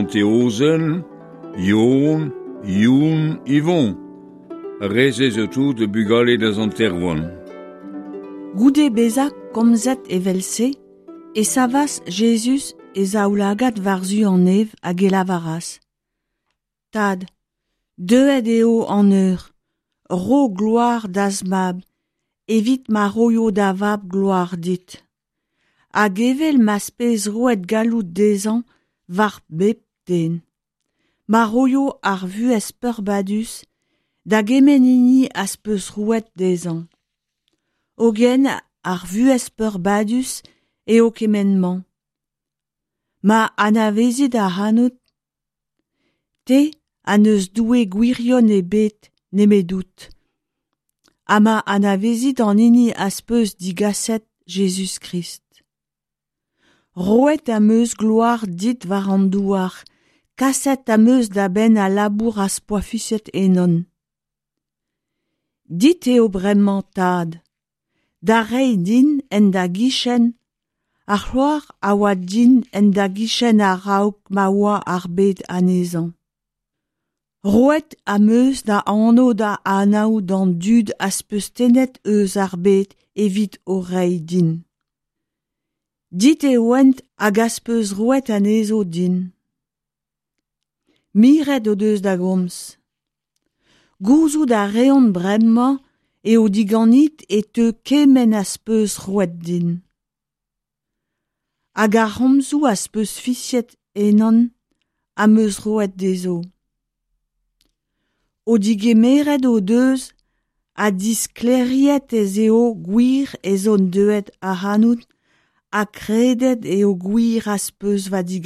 Sant Eozen, Yon, Youn, Yvon. Ar re-se zo tout bugale da Sant Erwan. Goude bezañ komzet evel-se e savas Jezuz e zaoulagad war-zu an neñv hag e lavaras Tad, deuet eo an eur, ro gloar da'z mab, evit ma roio da vab gloar dit. Hag evel ma'z pez roet galloud dezhañ war bep den, ma roio ar vuhez peurbadus da gement hini az peus roet dezhañ. Hogen ar vuhez peurbadus eo kement-mañ. Ma anavezit ac'hanout, te ha n'eus Doue gwirion ebet nemedout, ha ma anavezit an hini az peus digaset Jezuz-Krist. Roet am eus gloar dit war an douar, kaset am eus da benn al labour az poa fiziet ennon. Dit eo bremañ, Tad, da reiñ din en da gichen ar c'hloar a oa din en da gichen a-raok ma oa ar bed anezhañ. Roet am eus da anv da anaout d'an dud az peus tennet eus ar bed evit o reiñ din. Dit e oant hag az peus roet anezho din. Miret o deus da gomz. Gouzout a reont bremañ eo diganit e teu kement az peus roet din. Hag ar c'homzoù az peus fiziet ennon am eus roet dezho. O digemeret o deus ha disklêriet ez eo gwir ez on deuet ac'hanout ha kredet eo gwir az peus va digaset.